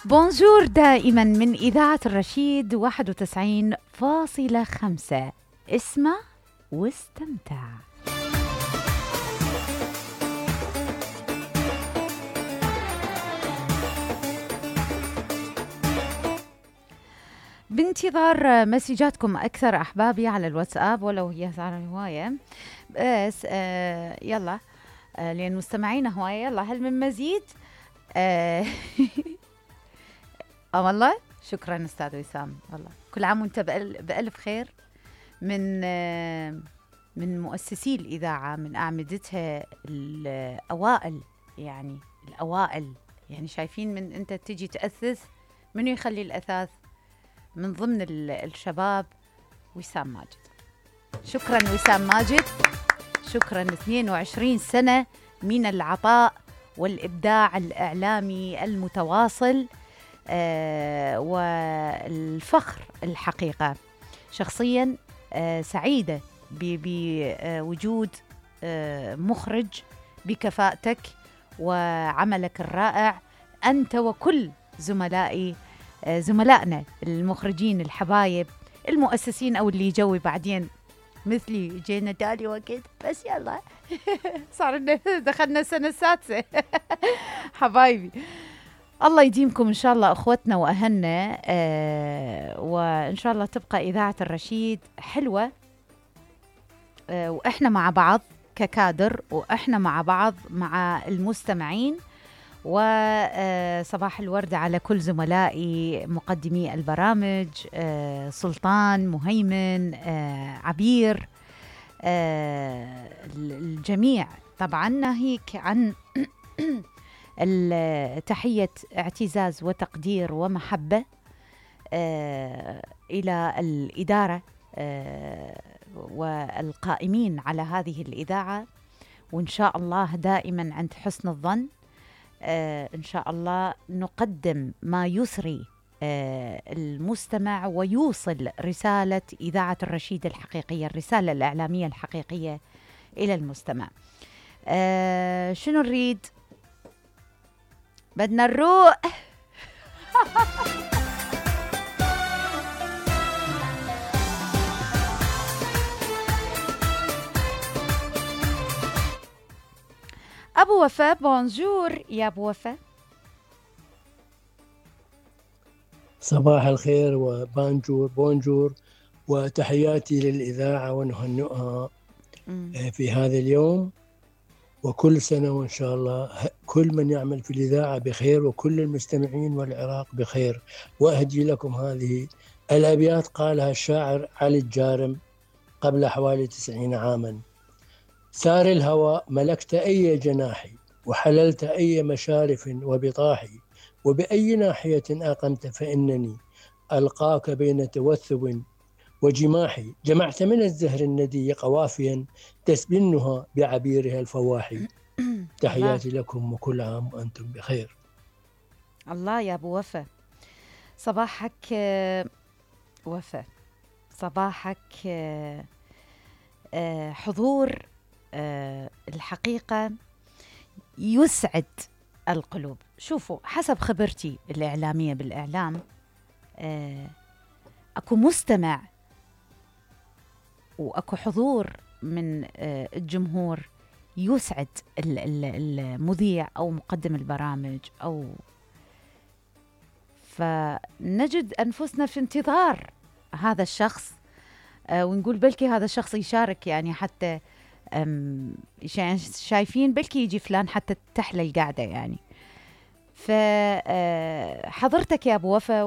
بونجور دائما من إذاعة الرشيد 91.5. اسمع واستمتع. بانتظار مسجاتكم أكثر أحبابي على الواتساب، ولو هي صار هواية بس يلا لأن مستمعينا هواية. يلا هل من مزيد؟ والله شكرا أستاذ وسام، والله كل عام وانت بألف خير. من مؤسسي الإذاعة، من أعمدتها الأوائل، يعني الأوائل، يعني شايفين من أنت تجي تأسس منو يخلي الأثاث من ضمن الشباب؟ وسام ماجد. شكرا وسام ماجد، شكرا. 22 سنة من العطاء والإبداع الإعلامي المتواصل والفخر الحقيقة. شخصيا سعيدة بوجود مخرج بكفاءتك وعملك الرائع، أنت وكل زملائنا المخرجين الحبايب المؤسسين أو اللي يجوي بعدين مثلي جينا تالي وقت، بس يلا صار دخلنا السنة السادسة. حبايبي الله يديمكم إن شاء الله أخوتنا وأهلنا، وإن شاء الله تبقى إذاعة الرشيد حلوة، وإحنا مع بعض ككادر، وإحنا مع بعض مع المستمعين. وصباح الورد على كل زملائي مقدمي البرامج، سلطان، مهيمن، عبير، الجميع. طبعا ناهيك عن تحية اعتزاز وتقدير ومحبة إلى الإدارة والقائمين على هذه الإذاعة، وإن شاء الله دائما عند حسن الظن. إن شاء الله نقدم ما يسري المستمع ويوصل رسالة إذاعة الرشيد الحقيقية، الرسالة الإعلامية الحقيقية إلى المستمع. شنو نريد؟ بدنا نروق. أبو وفاء، بونجور يا أبو وفاء. صباح الخير وبانجور بونجور، وتحياتي للإذاعة ونهنئها في هذا اليوم، وكل سنة وإن شاء الله كل من يعمل في الإذاعة بخير، وكل المستمعين والعراق بخير. وأهدي لكم هذه الأبيات قالها الشاعر علي الجارم قبل حوالي 90 عاما: سار الهوى ملكت أي جناحي، وحللت أي مشارف وبطاحي، وبأي ناحية أقمت فإنني ألقاك بين توثب وجماحي. جمعت من الزهر الندي قوافيا تسبنها بعبيرها الفواحي. تحياتي لكم وكل عام وأنتم بخير. الله يا أبو وفاء، صباحك وفاء، صباحك حضور الحقيقة يسعد القلوب. شوفوا، حسب خبرتي الإعلامية بالإعلام، أكو مستمع وأكو حضور من الجمهور يسعد المذيع أو مقدم البرامج، أو فنجد أنفسنا في انتظار هذا الشخص، ونقول بلكي هذا الشخص يشارك، يعني حتى شايفين بلكي يجي فلان حتى تحلى القعدة يعني. فحضرتك يا أبو وفا